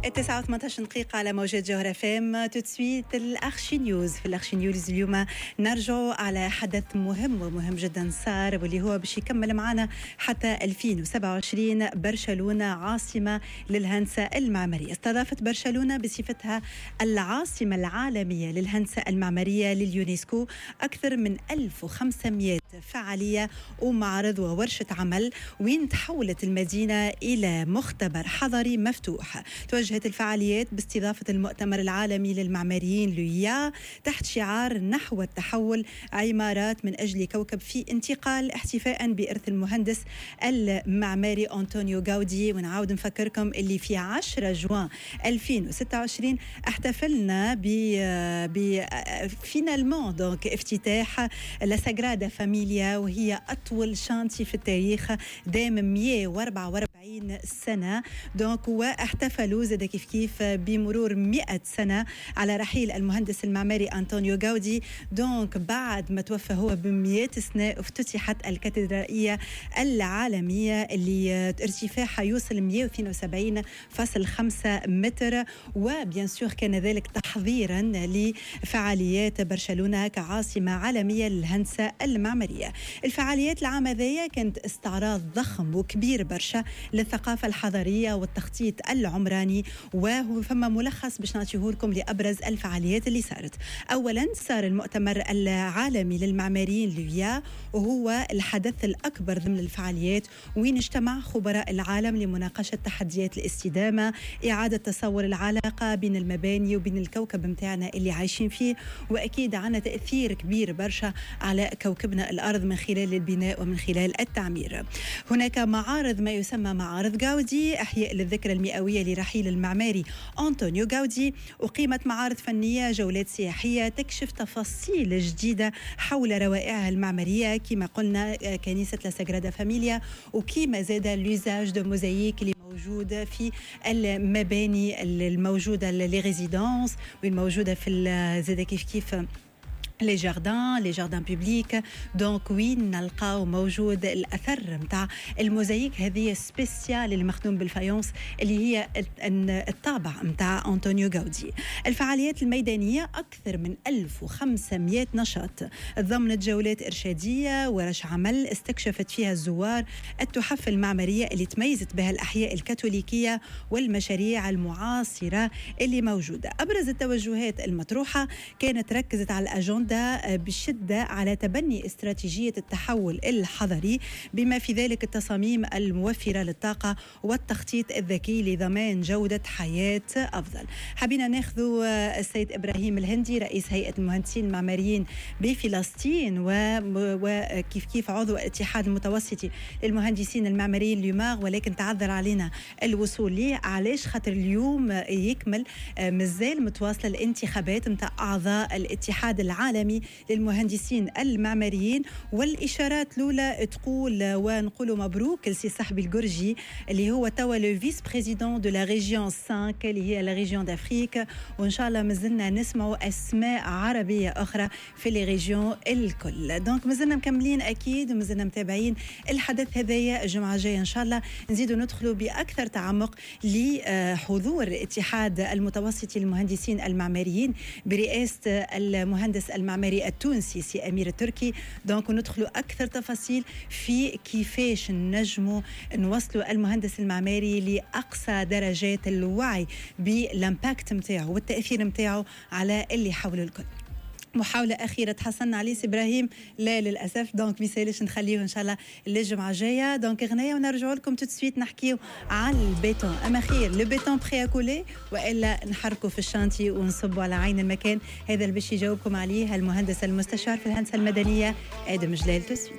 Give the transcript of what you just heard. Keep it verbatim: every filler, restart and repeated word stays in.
التسعة وثمانية عشر دقيقة على موجات جوهرة F M. tout de suite ال archi news. في ال archi news اليوم نرجع على حدث مهم ومهم جدا صار، واللي هو باش يكمل معنا حتى ألفين وسبعة وعشرين. برشلونة عاصمة للهندسة المعمارية. استضافت برشلونة بصفتها العاصمة العالمية للهندسة المعمارية لليونسكو أكثر من ألف وخمسمئة فعالية ومعرض وورشة عمل، وين تحولت المدينة إلى مختبر حضري مفتوح. توجهت الفعاليات باستضافة المؤتمر العالمي للمعماريين l'U I A تحت شعار نحو التحول، عمارات من أجل كوكب في انتقال، احتفاء بإرث المهندس المعماري أنطونيو غاودي. ونعاود نفكركم اللي في عشرة جوان ألفين وستة وعشرين احتفلنا ب ب finalement donc افتتاح La Sagrada Familia، وهي أطول chantier في التاريخ دام مئة وأربعة وأربعين سنة. donc واحتفلوا زاد كيف كيف بمرور مئة سنة على رحيل المهندس المعماري أنطونيو غاودي. donc بعد ما توفى هو ب مئة سنة افتتحت الكاتدرائية العالمية اللي ارتفاعها يوصل مئة واثنين وسبعين فاصل خمسة متر. و bien sûr كان ذلك تحضيرا لفعاليات برشلونة كعاصمة عالمية للهندسة المعمارية. الفعاليات العام هذايا كانت استعراض ضخم وكبير برشا للثقافة الحضرية والتخطيط العمراني، وهو فما ملخص باش نعطيه لكم لأبرز الفعاليات اللي صارت. أولا صار المؤتمر العالمي للمعماريين l'U I A، وهو الحدث الأكبر ضمن الفعاليات، وين اجتمع خبراء العالم لمناقشة تحديات الاستدامة، إعادة تصور العلاقة بين المباني وبين الكوكب متاعنا اللي عايشين فيه، وأكيد عنا تأثير كبير برشا على كوكبنا الأرض من خلال البناء ومن خلال التعمير. هناك معارض، ما يسمى معارض غاودي، إحياء للذكرى المئوية لرحيل المعماري أنطونيو غاودي. أقيمت معارض فنية، جولات سياحية تكشف تفاصيل جديدة حول روائعها المعمارية، كما قلنا كنيسة La Sagrada Familia، وكما زاد l'usage de mosaïque اللي موجود في المباني الموجودة، les résidences والموجودة في زاد كيف كيف les jardins les jardins publics. donc وين نلقاو موجود الاثر نتاع الموزايك هذه spéciale اللي مخدوم بال faïence، اللي هي الطابع نتاع انطونيو غاودي. الفعاليات الميدانيه اكثر من ألف وخمسمئة نشاط تضمنت جولات ارشاديه، ورش عمل استكشفت فيها الزوار التحف المعمارية اللي تميزت بها الاحياء الكاثوليكية والمشاريع المعاصرة اللي موجوده. ابرز التوجهات المطروحة كانت ركزت على الاجندة بشدة على تبني استراتيجية التحول الحضري، بما في ذلك التصاميم الموفرة للطاقة والتخطيط الذكي لضمان جودة حياة أفضل. حبينا ناخذ السيد إبراهيم الهندي، رئيس هيئة المهندسين المعماريين بفلسطين وكيف كيف عضو الاتحاد المتوسطي للمهندسين المعماريين l'UMAR، ولكن تعذر علينا الوصول ليه. علاش؟ خاطر اليوم يكمل، مازال متواصلة الانتخابات نتاع أعضاء الاتحاد العالمي للمهندسين المعماريين، والإشارات الأولى تقول، ونقول مبروك لسي صحبي القرجي اللي هو توا le vice-président de la région خمسة اللي هي la région d'Afrique، وان شاء الله مازلنا نسمعوا اسماء عربية اخرى في les régions الكل. donc مازلنا مكملين اكيد ومازلنا متابعين الحدث هذايا. الجمعة الجاية ان شاء الله نزيدوا ندخلوا باكثر تعمق لحضور الاتحاد المتوسطي للمهندسين المعماريين برئاسة المهندس المعماري التونسي سي امير التركي. donc ندخلوا اكثر تفاصيل في كيفاش نجموا نوصلوا المهندس المعماري لاقصى درجات الوعي بال impact نتاعو والتاثير نتاعو على اللي حوله الكل. محاولة أخيرة تحصلنا عليه سي إبراهيم؟ لا للأسف. donc ميسالش، نخليه إن شاء الله للجمعة الجاية. donc غناية ونرجعوا لكم tout de suite نحكيو على البيتون. أما خير le béton prêt à couler وإلا نحركوا في ال chantier ونصبوا على عين المكان؟ هذا اللي باش يجاوبكم عليه المهندس المستشار في الهندسة المدنية آدم جلال tout de suite.